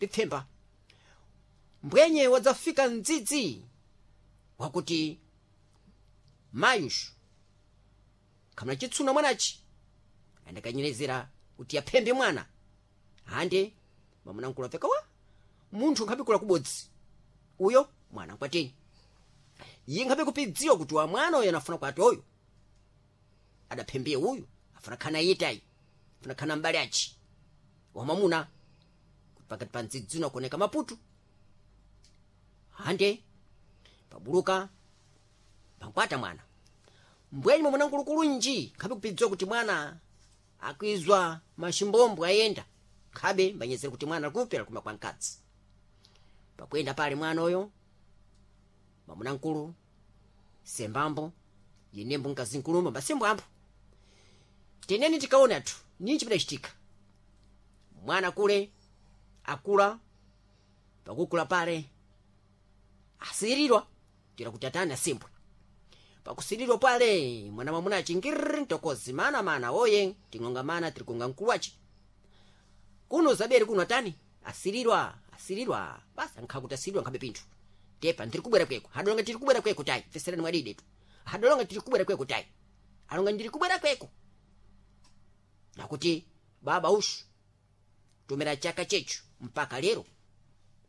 Pipfemba mbwenye wadzafika mdzidzi wakuti mayushu khamuna chitsuna mwanachi andakanyerezera kuti aphembe mwana hande mwamuna mkulu apfeka wa munthu nkhabe kubodzi uyo mwana nkwateni iye nkhabe kupidziwa kuti wa mwana uyo anafuna kwati oyo adaphembiye uyu afuna khana yitayi afuna khana mbale achi wamwamuna kuti pakati pa mdzidzi uno akuoneka maputu hande pabuluka pankwata mwana mbwenyi mwamuna nkulukulu nji nkhabe kupidziwa kuti mwana akwizwa maximbombwe ayenda nkhabe mbanyezera kuti mwana alikupera kuma kwa mkadzi. Pakuyenda pale mwana uyo mwamuna nkulu sembambo yenembo mkazi nkulumba mbasembwambo teneni tikaona athu ninji pidacitika mwana kule akula. Pakukula pale asirirwa tira kuti atani asimbwe. Pakusirirwa pale mwana mwamuna achingiriri mtokozi mana mana oye ting'onga mana tirikonga mkulu achi kuno zabere kuno atani asirirwa asirirwa basi ankhakuti asirirwa nkhabe pinthu tepa ndiri kubwera kweko hadolonga tiri kubwera kweko tayi feserani mwadide tu hadolonga tiri kubwera kweko tayi alonga ndiri kubwera kweko nakuti baba ushu tumira chaka chechu mpaka lero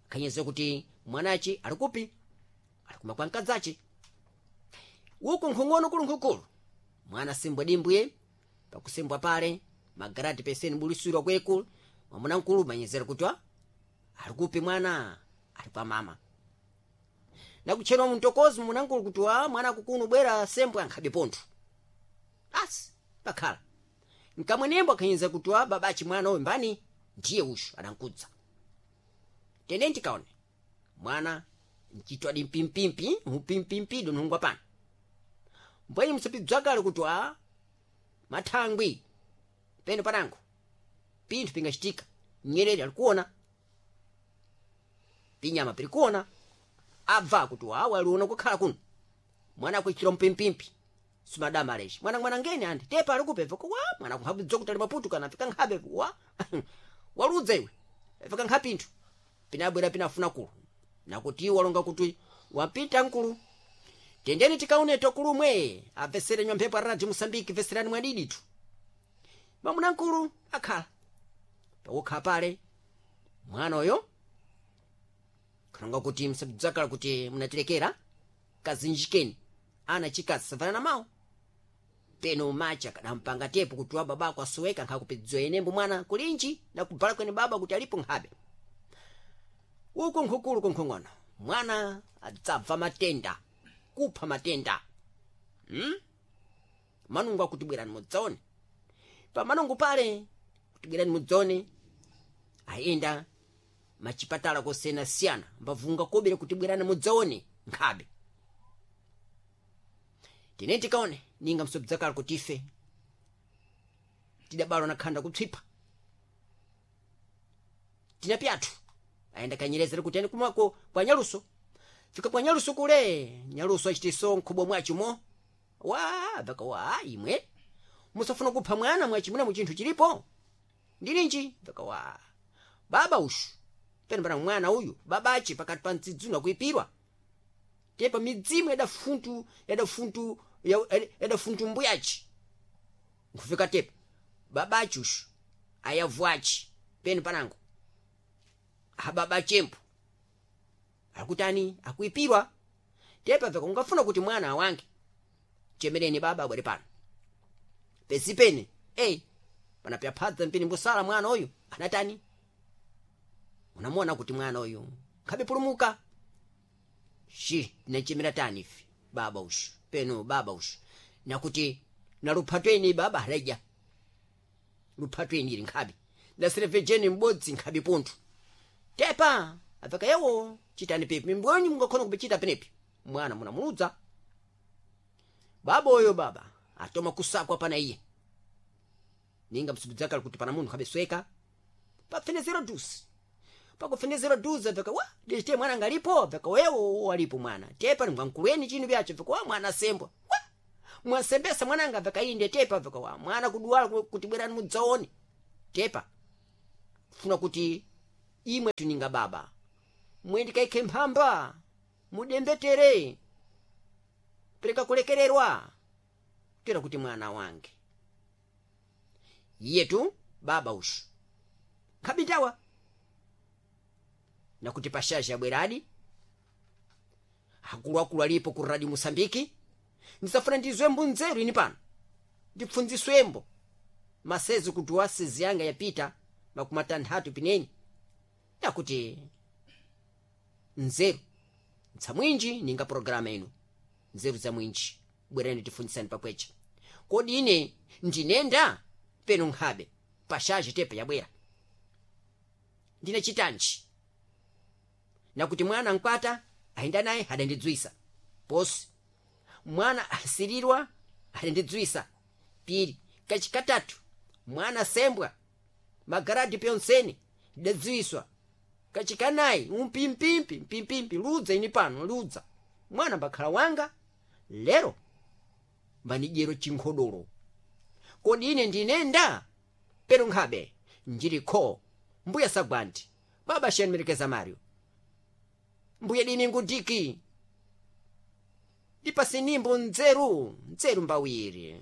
khanyeza kuti mwanachi alikupi alikuma kwa mkadzachi uku nkhung'ono kulu nkhukulu mwana simbwa dimbwiye. Pakusimbwa pale magarati peseni bulisirwa kweku mwamuna nkulu manyezera kuti alikupi mwana ali kwa mama nakutchedwa mtokozi mwamuna nkulu kuti wa mwana kukuno bwera sembwa nkhabe pontho asi pakhala nkamwenembo akhanyeza kuti wa babachi mwana uyu mbani ndiye ushu adankudza. Tene ndikaone mwana nchitwadi mpimpimpi mpimpimpido nthungwa pano mbwenyi msapidzwakale kuti wa mathangwi peno panango pinthu pingachitika nyerere alikuona pinyama pirikuona abva kuti wawa aliona kukhala kuno mwana akuichira mpimpimpi simadama alechi mwana mwana ngeni andi tepa alikupebva wa mwana kunkhabidzwa kuti ali maputu kana fika nkhabe wa waludza iwe fika nkhapinthu pinabwera pinafuna kulu nakuti iwo walonga kuti wapita nkulu. Tendeni tikaone tokulumwe apesere nywa mphepo aradio Mosambiki veserani mwadiditu mwamuna nkulu akhala pakukhala pale mwana uyo kalonga kuti msabdzakala kuti munatilekera kazinjikeni ana chikazi savanana mawo peno macha kadampanga tepo kuti wa babako asoweka nkhakupidziwa enembo mwana kulinji nakubvala kwene baba kuti alipo nkhabe uku nkhukulu kunkhong'ono mwana adzabva matenda kupha matenda. Manungu akuti bwerani mudzaone pa manungu pale kuti bwerani mudzaone ayenda machipatala kosiyanasiyana mbavunga kobera kuti bwerani mudzaone nkhabe tine tikaone ninga msobdzakala kuti ife tidabalwa na khanda kupsipha tina pyathu ayenda kanyerezera kuti ane kumako kwa nyaluso fika kwa nyaluso kule nyaluso achitiso nkhubwa mwachimo wa vaka wa imwe musafuna kupha mwana mwachimuna mu chinthu chilipo ndilinji vaka wa baba ushu peno pana mwana uyu babachi pakati pa mtsidzuna kuipirwa tepa midzimu yadafuntu yadafuntu yadafuntu mbuyachi nkufika tepa babachi ushu ayavuachi peno panango ababa chempo akutani akuipirwa tepa veka ungafuna kuti mwana awange chemereni baba abwere pano pesi pene ei panapyaphadza mpini mbusala mwana uyu anatani unamuona kuti mwana uyu nkhabe pulumuka shi tinachemera tani ife baba ushu peno baba ushu nakuti na luphatweni baba aleja luphatweni ili nkhabe naserevejeni m'bodzi nkhabe pontho tepa apeka yewo chitani pipi mbwenyi mungakhona kupichita penepi mwana munamuludza baba oyo baba atoma kusakwa pana iye ninga msubudzakala kuti pana munthu khabesweka pafenezero dusi pakufenezero dusi apeka wa ndichite mwana ngalipo apeka wewo alipo mwana tepa ngamkulweni chinu vyacho apeka wa mwana sembwa wa mwasembesa mwananga apeka inde tepa apeka wa mwana kuduwala kuti bwerani mudzaone tepa funa kuti Imwe tuninga baba mwendikaikhe mphamba mudembetere pereka kulekererwa tera kuti mwana wange iyetu baba ushu nkhabitawa nakuti pashazi abweradi akuluakulu alipo ku radio Mosambiki. Ndisafuna ndizwembo nzeru ini pano ndipfunziswembo masezi kuti wasezi yanga yapita 60 pineni nakuti nzeru nsamwinji ninga programa ino nzeru za mwinji bwerani tifunzisani pakwecha. Kodi ine ndinenda peno nkhabe pashazi tepe yabwera ndine chitanji nakuti mwana nkwata ayenda naye adandidzwisa posi mwana asirirwa adandidzwisa piri kachikatatu mwana sembwa magaradi pyonsene ndidadziwiswa kachikanayi umpimpimpi mpimpimpi ludza ini pano ludza mwana mbakhala wanga lero mbanidyero chinkhodolo. Kodi ine ndinenda pero nkhabe njilikho mbuya sagwanti baba xiyanimerekeza Mario mbuya dimi ngudiki ndipasinimbo nzeru nzeru mbawiri.